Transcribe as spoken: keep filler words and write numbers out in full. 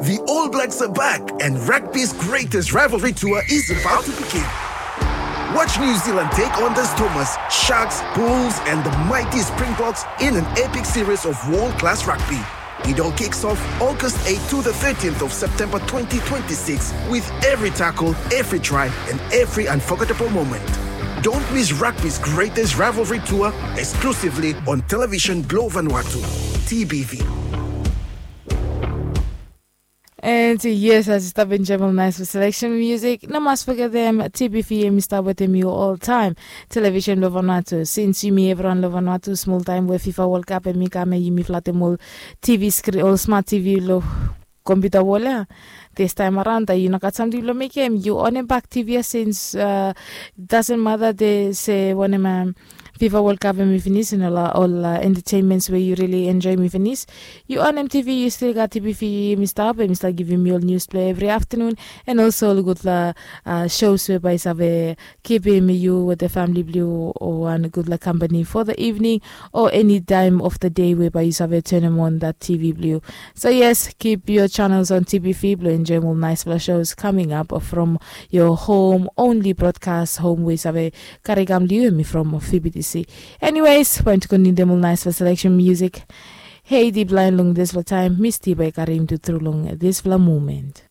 The All Blacks are back, and rugby's greatest rivalry tour is about to begin. Watch New Zealand take on the Stormers, Sharks, Bulls, and the mighty Springboks in an epic series of world class rugby. It all kicks off August eighth to the thirteenth of September twenty twenty-six, with every tackle, every try, and every unforgettable moment. Don't miss rugby's greatest rivalry tour, exclusively on Television Globe Vanuatu, T B V. And yes, as you stop in Jebel Nice for selection music, no mas forget them T B V yumi stop with them you all time. Television lo Vanuatu, since yumi everyone lo Vanuatu small time where FIFA World Cup and mi kame yumi flat them all T V screen, all smart T V lo computer wall ya. This time around, you no got something lo make him. You on him back T V since uh, doesn't matter they say when him um, FIFA World Cup and mi finish and all, all uh, entertainments where you really enjoy mi finish. You on M T V, you still got T B V, mi stop and mi start giving you all news play every afternoon and also all good uh, uh, shows where by save keeping you with the family blue or one good like company for the evening or any time of the day whereby you save turn them on that T V blue. So yes, keep your channels on T V blue and enjoy all nice flash shows coming up from your home only broadcast home where save karigam blue me from F B T C. Anyways, point to continue them all nice for selection music. Hey, deep line long this for time, Misty by Karim to through long this for moment.